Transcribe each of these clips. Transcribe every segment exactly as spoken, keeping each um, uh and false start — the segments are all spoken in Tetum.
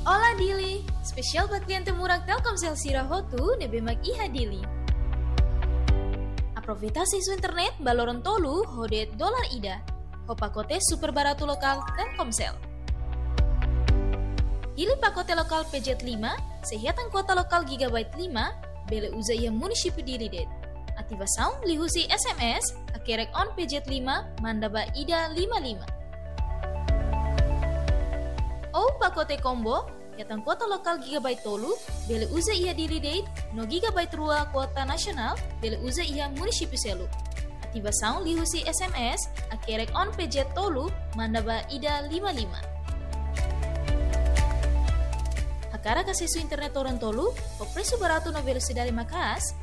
Olá Dili, espesiál ba kliente murak Telkomsel sira hotu ne'ebé mak iha Dili. Aproveita asesu internet ba loron tolu ho de'it dolar ida, ho pakote super baratu lokál Telkomsel. Pilih pakote lokál P Z lima, sei hetan kuota lokál gigabyte lima, bele uza iha munisípiu Dili de'it. Ativasaun liuhusi S M S, hakerek on P Z lima, manda ba ida lima lima. Ou pakote combo, hetan kuota lokál gigabyte tolu, bele uza iha Dili de'it, no gigabyte rua kuota nasionál, bele uza iha munisípiu seluk. Ativasaun liuhusi S M S, hakerek on P Z tolu, manda ba ida lima lima. Hakarak asesu internet loron tolu, ho presu baratu no velosidade maka'as,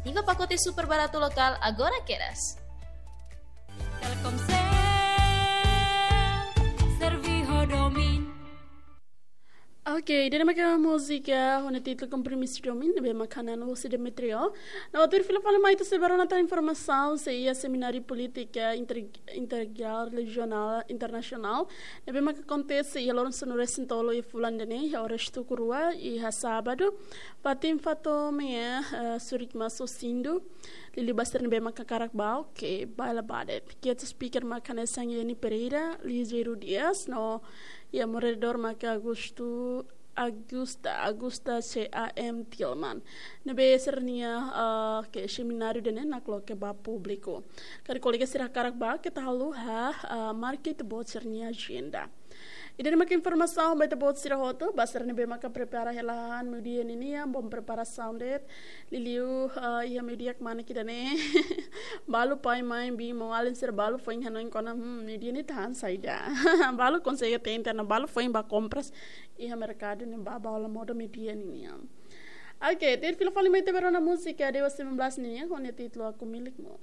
ativa pakote super baratu lokál agora kedas. Telkomsel, servi ho domin. Ok, ida-ne'e mak múzika ho títulu Kompromisu Domin, ne'ebé mak hanan husi Demetrio. No tuir fila fali mai ita sei bá rona tan informasaun, sei iha semináriu polítika inter-, interregionál, internasionál, ne'ebé mak akontese iha loron sanulu-resin-tolu iha fulan ida-ne'e, iha oras tuku rua, iha sábadu, fatin fato meia, eh, Surikma Sosindu, liuliu ba sira ne'ebé mak hakarak bá, ok, bá hela bá de'it. Guest speaker mak hanesan Yeni Pereira, Ligeiro Dias, no iha moderadór mak Augusto, Augusta, Augusta C A M Tillman. Ne'ebé sira-nia, ah, ke semináriu ida-ne'e nakloke ba públiku. Karik kolega sira hakarak bá, keta haluha, ah, marka ita-boot sira-nia ajenda. Ida-ne'e mak informasaun ba ita-boot sira hotu, ba sira ne'ebé mak prepara hela han meiudia ninian, bom preparasaun de'it. Liuliu, ah, iha meiudia kmanek ida-ne'e. Balu pai mãe biin maun-alin sira balu foin hanoin kona, hmm, meiudia ne'e tahan saida. Balu konsege tenta no balu foin bá kompras iha merkadu ne'ebá ba hola modo meiudia ninian. Ok, tuir fila fali mai ita bá rona múzika Dewa sembilan belas ninian, ho títulu Aku Milikmu.